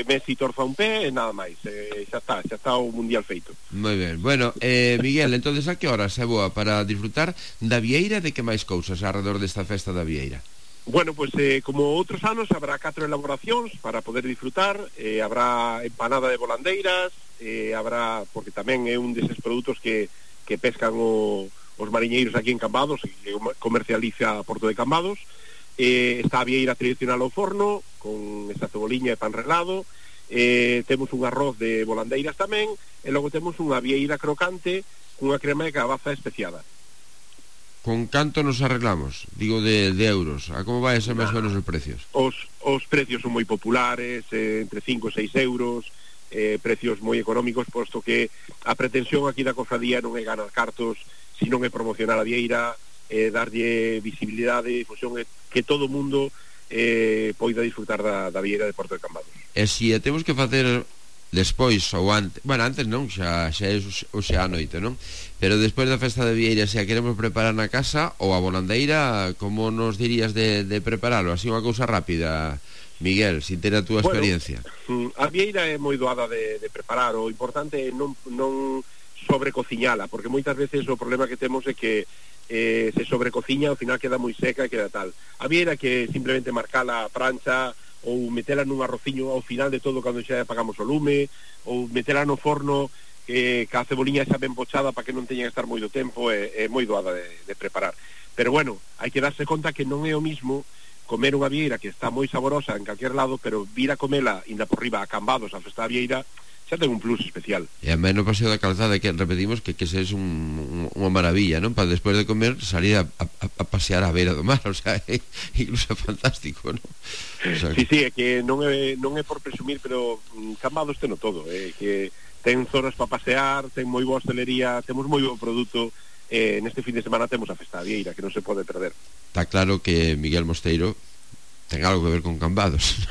Messi torza un pé e nada máis, xa está o Mundial feito. Moi ben, bueno, Miguel, entonces a que horas é boa para disfrutar da Vieira, de que máis cousas alrededor desta festa da Vieira? Bueno, pues como outros anos habrá 4 elaboracións para poder disfrutar, habrá empanada de volandeiras, habrá, porque tamén é un deses produtos que pescan os mariñeiros aquí en Cambados, que comercializa a Porto de Cambados. Está a vieira tradicional ao forno con esa ceboliña e pan relado, temos un arroz de volandeiras tamén, e logo temos unha vieira crocante cunha crema de cabaza especiada. Con canto nos arreglamos? Digo de euros. A como vai a ser máis ou menos os precios? Os precios son moi populares, entre 5 e 6 euros, precios moi económicos, posto que a pretensión aquí da cofradía non é ganar cartos, sino é promocionar a vieira, darlle visibilidade e difusión, que todo o mundo poida disfrutar da vieira de Porto de Cambados. E se temos que facer despois ou antes, bueno, antes non, xa é a noite, non? Pero despois da festa de Vieira, se a queremos preparar na casa ou a volandeira, como nos dirías de preparalo? Así unha cousa rápida, Miguel, sin ter a túa experiencia. A vieira é moi doada de preparar, o importante é non sobrecociñala, porque moitas veces o problema que temos é que se sobrecociña, ao final queda moi seca e queda tal. A vieira que simplemente marcala a prancha ou metela nun arrociño ao final de todo cando xa apagamos o lume, ou metela no forno ca ceboliña xa ben pochada para que non teña que estar moito tempo, é moi doada de preparar. Pero bueno, hai que darse conta que non é o mismo comer unha vieira que está moi saborosa en calquer lado, pero vir a comela inda por riba a Cambados a festa da vieira xa ten un plus especial. E a menos Paseo da Calzada, que repetimos que é unha maravilla, non? Para despois de comer salir a pasear a beira do mar, o sea, incluso é fantástico, non? O sea, sí, é que non é por presumir, pero Cambados teno todo, que ten zonas para pasear, ten moi boa hostelería, temos moi bo produto, neste fin de semana temos a festa da vieira, que non se pode perder. Está claro que Miguel Mosteiro ten algo que ver con Cambados.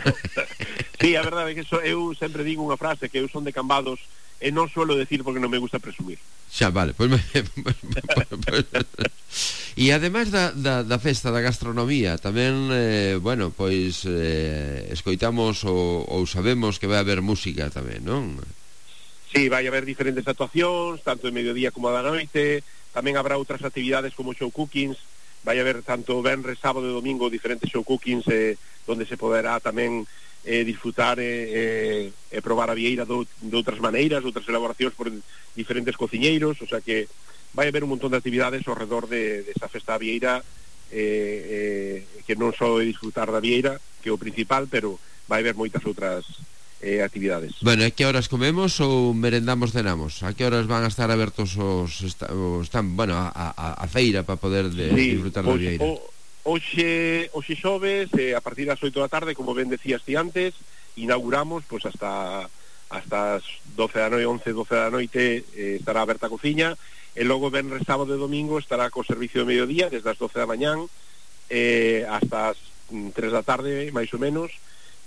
Sí, a verdade é que eu sempre digo unha frase, que eu son de Cambados e non suelo decir porque non me gusta presumir. Xa, vale, pois e ademais da festa da gastronomía tamén, bueno, pois escoitamos ou sabemos que vai haber música tamén, non? Sí, vai haber diferentes actuacións, tanto de mediodía como da noite, tamén habrá outras actividades como show cookings, vai haber tanto venres, sábado e domingo diferentes show cookings, donde se poderá tamén disfrutar e probar a vieira de outras maneiras, outras elaboracións por diferentes cociñeiros, o sea que vai haber un montón de actividades ao redor desa festa da vieira, que non só é disfrutar da vieira, que é o principal, pero vai haber moitas outras actividades. Bueno, a que horas comemos ou merendamos, cenamos? A que horas van a estar abertos a feira para poder disfrutar da vieira? Hoxe xoves, a partir das 8 da tarde, como ben decías ti antes, inauguramos pois hasta as 12 da noite, 11, 12 da noite estará aberta a cociña, e logo venres, sábado e domingo estará co servicio de mediodía desde as 12 da mañán hasta as 3 da tarde, máis ou menos,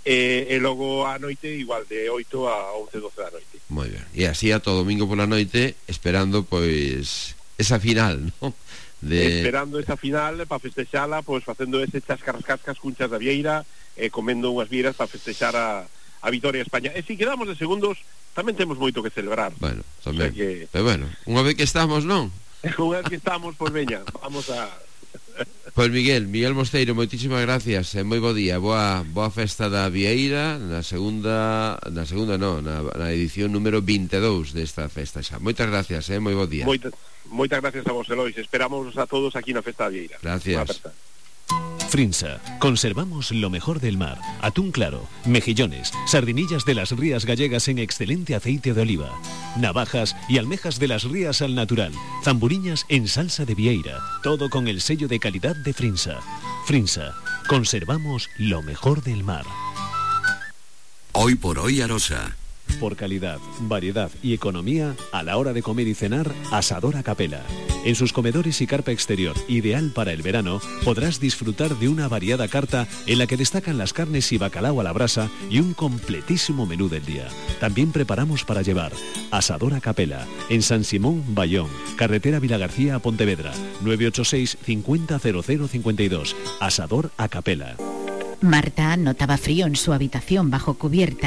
e logo a noite igual de 8 a 11, 12 da noite. Moi ben, e así a todo domingo pola noite esperando pois esa final, non? Esperando esa final para festexala, pois facendo ese cascas cunchas da vieira, comendo unhas vieiras para festexar a vitoria de España. E se quedamos de segundos, tamén temos moito que celebrar. Bueno, tamén, o sea que... pero bueno, unha vez que estamos, non? Unha vez que estamos, pois veña, vamos a... Pois Miguel Mosteiro, moitísimas gracias e moi bo día, boa festa da vieira na edición número 22 desta festa xa. Moitas gracias, moi bo día. Moitas gracias a vos, Elois, esperamos a todos aquí na festa da vieira. Gracias. Frinsa, conservamos lo mejor del mar, atún claro, mejillones, sardinillas de las rías gallegas en excelente aceite de oliva, navajas y almejas de las rías al natural, zamburiñas en salsa de vieira, todo con el sello de calidad de Frinsa. Frinsa, conservamos lo mejor del mar. Hoy por hoy Arosa. Por calidad, variedad y economía, a la hora de comer y cenar, Asador a Capela. En sus comedores y carpa exterior, ideal para el verano, podrás disfrutar de una variada carta en la que destacan las carnes y bacalao a la brasa y un completísimo menú del día. También preparamos para llevar. Asador a Capela, en San Simón, Bayón, carretera Vilagarcía a Pontevedra, 986 50 0052. Asador a Capela. Marta notaba frío en su habitación bajo cubierta.